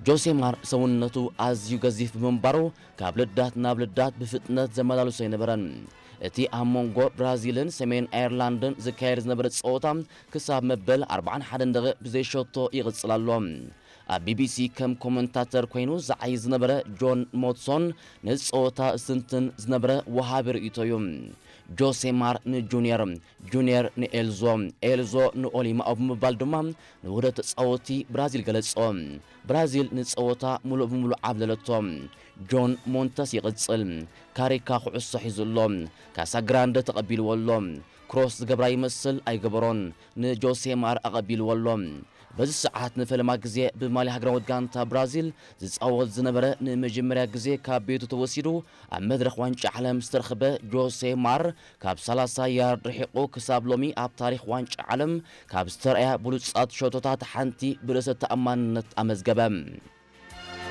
ጆሴማር ሰውነቱ ኣዝዩ ገዚፍ ብምንባሩ፣ ካብ ልዳት ናብ ልዳት ብፍጥነት ዘመላልሶ ኣይነበረን። እቲ ኣብ መንጎ ብራዚልን ሰሜን ኣየርላንድን ዝካየድ ዝነበረ ጸወታ፣ ክሳብ መበል ኣርባዓን ሓደን ደቂቕ ብዘይሸቶ ይቕጽል ኣሎ። ኣብ ቢቢሲ ከም ኮመንታተር ኮይኑ ዝዓዪ ዝነበረ ጆን ሞትሶን፣ ነዚ ጸወታ ዝትንትን ዝነበረ ወሃቢ ርእይቶ እዩ። ጆሴማር ንጁንየር፣ ጁንየር ንኤልዞ፣ ኤልዞ ንኦሊማኦ ብምባል ድማ ንውህደት ተጻወትቲ ብራዚል ገለጾ። ብራዚል ንጸወታ ምሉእ ብምሉእ ዓብለለቶ። ጆን ሞንተስ ይቕጽል። ካሪካ ኩዕሶ ሒዙ ኣሎ። ካሳግራንደ ተቐቢልዎ ኣሎ። ክሮስ ዝገብራ ይመስል ኣይገበሮን። ንጆሴማር ኣቐቢልዎ ኣሎ። በዚ ሰዓት ንፈለማ ግዜ ብማልያ ሃገራዊት ጋንታ ብራዚል ዝጻወት ዝነበረ፣ ንመጀመርያ ግዜ ካብ ቤቱ ተወሲዱ ኣብ መድረኽ ዋንጫ ዓለም ዝተረኽበ ጆሴማር፣ ካብ ሰላሳ ያርድ ርሒቑ ክሳብ ሎሚ ኣብ ታሪኽ ዋንጫ ዓለም ካብ ዝተረኣያ ብሉጻት ሸቶታት ሓንቲ ብርእሰ ተኣማንነት ኣመዝገበ።